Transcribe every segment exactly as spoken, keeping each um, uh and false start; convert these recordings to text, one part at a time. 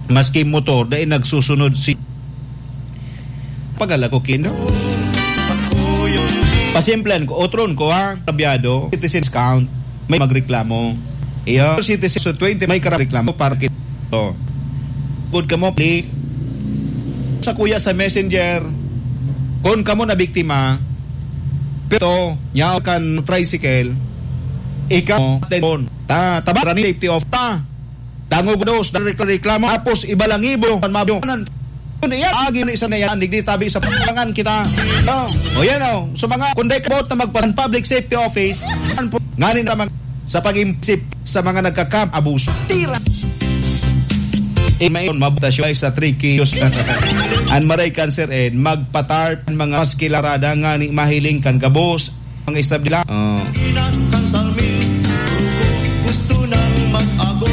Maski motor, dai nagsusunod si pagala ko kino. Pasimplehan ko, otron ko ha, kabyado, citizens count, may magreklamo. Iyo, citizens sa twenty, may karareklamo para kito. Good kamo, pli. Sa kuya sa messenger, kung kamo na biktima, pero, nya kan tricycle, ikaw, atenton. Ta, tabaran ni safety of ta. Dangog dos, reklamo. Tapos, iba lang ibo, kan mabiyo. Kun iyan, agi na isa na yan, digdi tabi sa pangan kita. Oh, o yan, oh. So, mga, kung di kabot na magpasan public safety office, yan po, ngani naman sa pag-imsip sa mga nagkakam, abuso. Tira! Eh, may mabutas yung sa three kilos. An maray cancer, eh, magpatarp mga mas kilarada ngani mahiling kan gabos. Ang istab nila. Oh. Kan salmi, gusto nang mag-agom.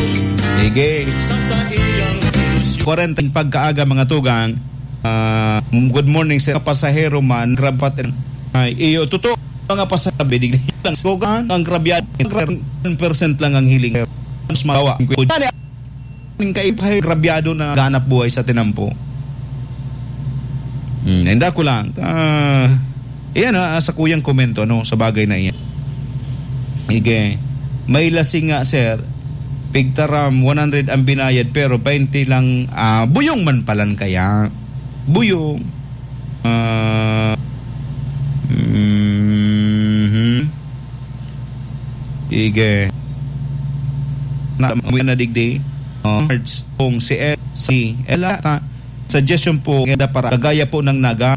Sige. Sa saiyang ilusyon. Kwarenta yung pagkaaga, mga tugang. Ah, good morning, sir. Pasahero man, grabat. Ay, iyo, totoo. Mga pasahero, bidig lang. Sugan, ang grabyado. One percent lang ang hiling. Mas mawa. Ning kaiba sa grabyado na ganap buhay sa tinampo. Hmm, inda ko lang. Ah, iyan, ah, sa kuyang komento, no, sa bagay na iyan. Ige, may lasing nga, sir. Pigtaram, one hundred ang binayad, pero twenty lang, ah, buyong man palan kaya. Buyong. Ah, mhm. Sige. Na, na digdi. Oh, kung si El, si Ella, ta, suggestion po, para kagaya po ng naga,